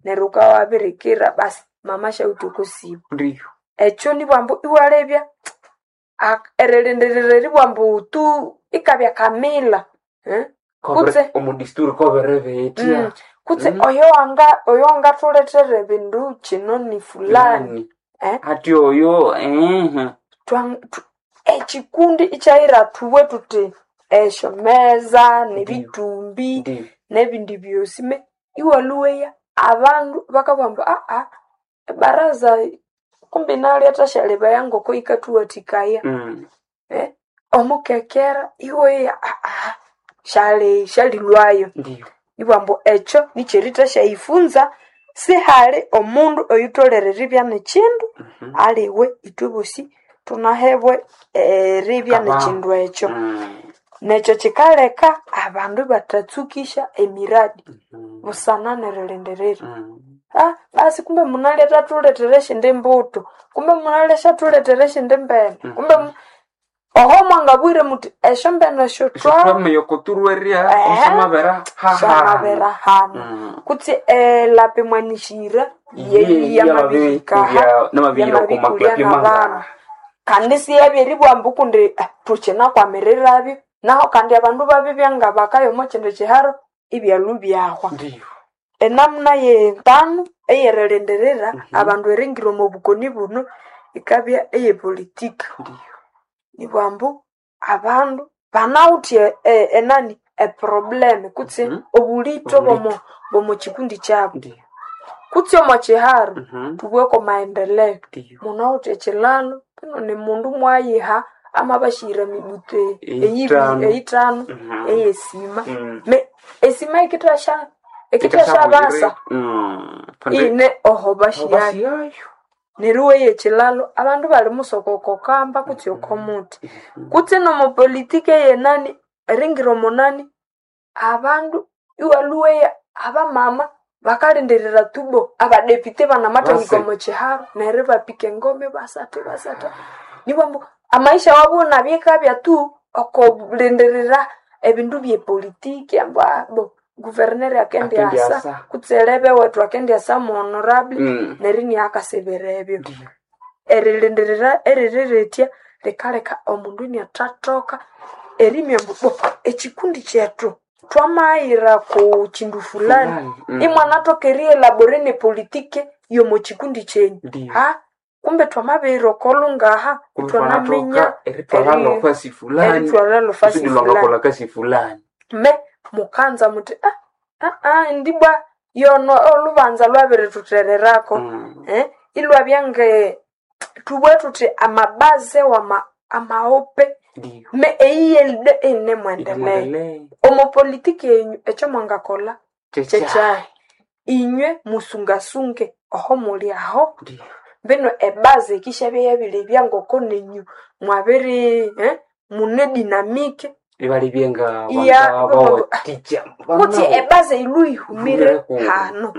Neryo wukawabirikira basi mama syawithe okosimu. Ndiyo. Ekyo nibwambu iwalebya erilindirira eribwambu tu ikabya kamila, eh? Kutse Omu disturi kobere betya. Kutse oyo wangathulethera ebindu kino ni fulani. Eh? Hati oyo Ekikundi ikyayira thubwe thuthi esyo meza nebithumbi Ndiyo. nebindi byosi me iwalhuweya abandu bakabugha ambu ebaraza kumbi nalyo thasyalebaya ngoko yikathuwathikaya. Eh, omukekera iweya syali syalilwayo. Ndiyo. Ibwambu ekyo nikyerithasyayifunza sihali omundu oyutholere eribya nekindu aliwe ithwe bosi thunahebwe eribya Abaho. nekindu ekyo. Nekyo kikaleka abandu ibathatsukisya emiradi busana nerilindirira. Basi kumbe munalya thathulethera esyindi mbuthu, kumbe munalya syathuletera esyindi mbene, kumbe oho mwangabwire muthi esyombene esyo twa Twamenya okuturwerya Ehe. osyamabera hahanu. syamabera hanu. Kutse elapimwanishira Ye- yamabihikaha namabihira yamabikulya okumaklapi n'abandu. mangara. Kandi siyabya ambu kundi thukinakwamiriraby naho kandi abandu babibya nga bakaya omo kindi kiharo ibyalhu byahwa. Ndiyo. Enamuna yentanu eyerilindirira abandu eringira omo bukoni buno yikabya eyepolitika. Ndiyo. Nibwambu abandu banawithe enani eproblem kutse obulitho bwomo kikundi kyabu. Ndiyo. Kutse omo kiharo thubweko maendeleo. Ndiyo. Munawithe ekilalo kino ni mundu mwayiha amabashira emibuthu Eyithanu. eyithanu eyesima. Me esima yikithasya ikithasyabasa ine oho bashiyayo. Bashiyayo. Neryo iweya ekilalo abandu bali musoka oko kamba kutse oko muthi. Kutse nomo politiki eyenani eringira omunani abandu iwalhuweya abamama bakalindirira tubo abadepite banamathahika Basi. omo kiharo neryo ibapika engoma ibasatha ibasatha. Nibwambu amaisha wabu inabyekabya tu okolindirira ebindu byepolitiki ambu bo guverneri akendiasa Akendiasa. kutse elebe wethu akendiasa mu honorable neryo iniakasibira ebyo. Erilindirira eririritya likaleka omundu iniathathoka erimya ambu bo ekikundi kyethu twamayira ku kindu fulani Fulani, imwanathoka erielabore nepolitiki yomo kikundi kyenyu. Ndiyo. Kumbe twamabihira okolungaha Kumbe ithwanaminya twanathoka erithwalha lofasi fulani. erithwalha lofasi Kusudi fulani. lwangakolha kasi fulani. Me mukanza muthi ndibwa yono olubanza lwabirithutererako. Eh, ilwabya nge thubwe thuthi amabaze wama amaope Ndiyo. me eyiyelide iyinemwendeleo. Mwendelee. Omo politiki yenyu ekyo mwangakolha Kyekyayi. kyekyayi. Inywe musungasunge oho muli aho Ndiyo. mbino ebaze yikisyabya yabilebya ngoko nenyu mwabiri mune dinamike Ibalibye nga Iya, bawathikya. kutse ebaze ilhu yihumire hano.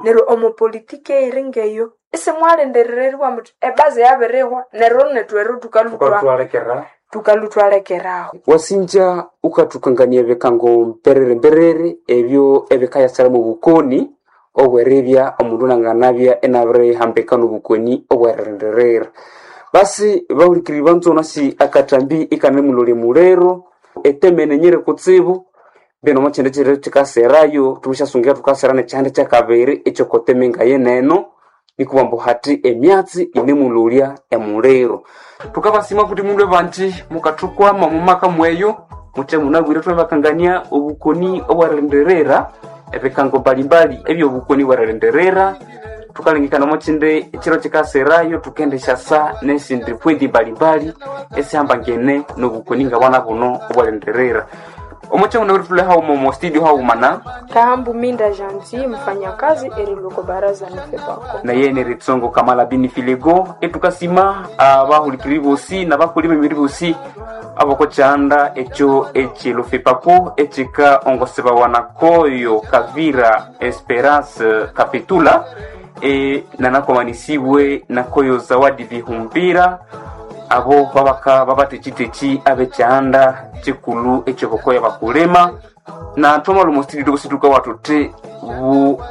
Neryo omo politiki eyiri ngeyo isimwalindirira eribugha muthi ebaze yabirihwa neryo nethu ero Thukalhutwalekera. thukalhutwalekeraho. Wasinja ukathukangania ebikango mperere mperere ebyo ebikayasira mu bukoni obweribya omundu nanganabya inabirihambika nobukoni obwerilindirira. Basi bahulikiriri banzo nasi akathambi ikanemulolya muliro etemene nyiri kutsibu mbino omo kyindi kyiro kyikaserayo thumusyasungira thukasera nekyihanda kyakabiri ekyokoteme ngayeneno nikubambu hathi emyatsi inemulolya emuliro. Thukabasima kuti mundu banji mukathukwama mumaka mweyo muthe munabwire thwabakangania obukoni obwerilindirira ebikango mbalimbali ebyobukoni obwerilindirira thukalengekana omo kyindi ekiro kyikaserayo thukendisyasa nesindi pwendi mbalimbali esihambangene nobukoni ngabwana buno obwerilindirira. Omo kyanguna thule haghuma omo studio haghumana Kahambu Minda Janti mfanyakazi eriluko baraza nefebako. naye neritsongo kamala bini filego etukasima abahulikiriri bosi nabakoli b'emibiri bosi abokokyanda ekyo ekilofepako ekika ongosebawa koyo Kavira Esperance Kapitula nanakomanisiwe nakoyo Zawadi Bihumbira abo babaka babatekiteki abekyanda kikulu ekyokokoya bakulema na thwamala omu studio tuka watuthi buho.